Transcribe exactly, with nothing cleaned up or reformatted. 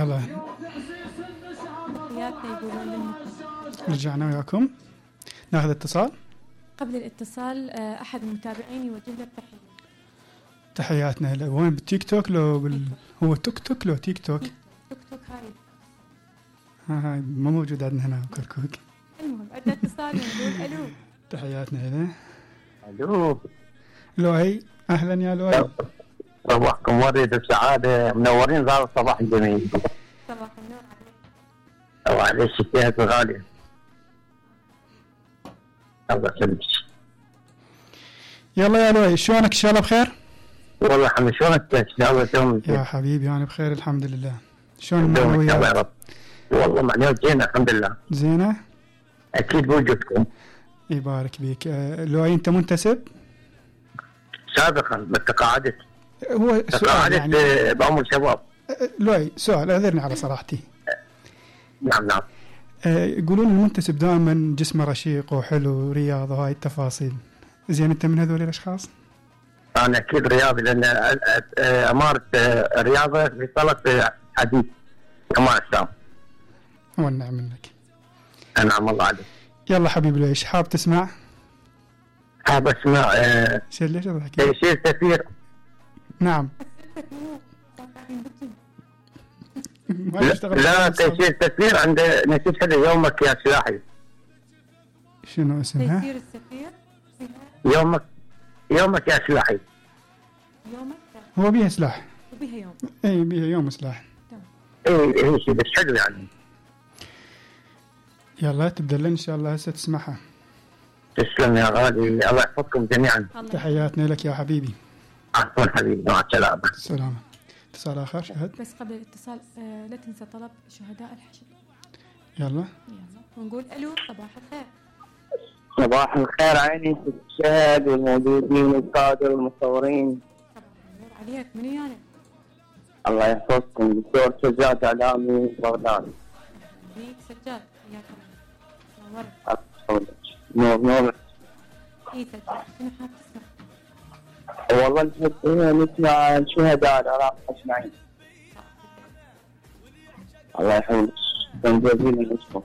يلا تحياتنا يقولون لنا. رجعنا وياكم ناخذ اتصال. قبل الاتصال أحد المتابعين يوجه له تحية. تحياتنا له. وين بالتيك توك لو بال... هو توك توك لو تيك توك؟ توك توك هاي ها هاي ما موجود عندنا هنا كركوك. المهم عندنا اتصال ونقول ألو. تحياتنا له. الو لؤي اهلا يا لؤي. صباحكم ورد بسعاده، منورين ظهر الصباح الجميل. صباح النور عليك وعلى الشتات الغاليه. الله يسلمك. يلا يا لؤي شلونك؟ ان شاء الله بخير. والله الحمد. شلونك ان شاء الله اليوم؟ يا حبيبي انا بخير الحمد لله. شلون المعنويات؟ المعنويات؟ يا رب. والله معنويات زينه الحمد لله. زينه؟ اكيد بوجودكم. يبارك بيك. أه لؤي انت منتسب؟ سابقا بس تقاعدت. هو سؤال تقاعدت يعني بعمر شباب. أه لؤي سؤال اعذرني على صراحتي. نعم نعم. أه يقولون المنتسب دائما جسمه رشيق وحلو ورياضه وهاي التفاصيل، زين انت من هذول الاشخاص؟ انا اكيد رياضي لان امارس الرياضه في صاله حديث كمال السام. والنعم منك. انعم الله عليك. يلا حبيبي ليش حاب تسمع؟ حاب اسمع آه شو ليش اضحك؟ تيسير سفير. نعم. لا تيسير سفير عند نسيت هذا يومك يا سلاحي. شنو اسمها؟ تيسير السفير. يومك يومك يا سلاحي. يومك هو بيها سلاح. وبيها يوم. اي بيها يوم سلاح. اي اي شيء بس حلو يعني. يلا تبدأ لنا ان شاء الله هسه تسمعها. تسلم يا غالي، الله يحفظكم جميعا. تحياتنا لك يا حبيبي. عفوا حبيبي مع السلامه. السلامه. اتصال اخر شهد. بس قبل الاتصال آه لا تنسى طلب شهداء الحشد. يلا يلا ونقول الو صباح الخير. صباح الخير عيني الشهد والموجودين الكادر والمصورين. صباح النور عليك. من يعني؟ الله يحفظكم. دكتور سجاد اعلامي بغداد. بيك سجاد حياك الله. نور نور. اي سجاد شنو حاب تسمع؟ والله نحب نسمع الشهداء العراق اجمعين. الله يحفظك. شكرا جزيلا لكم.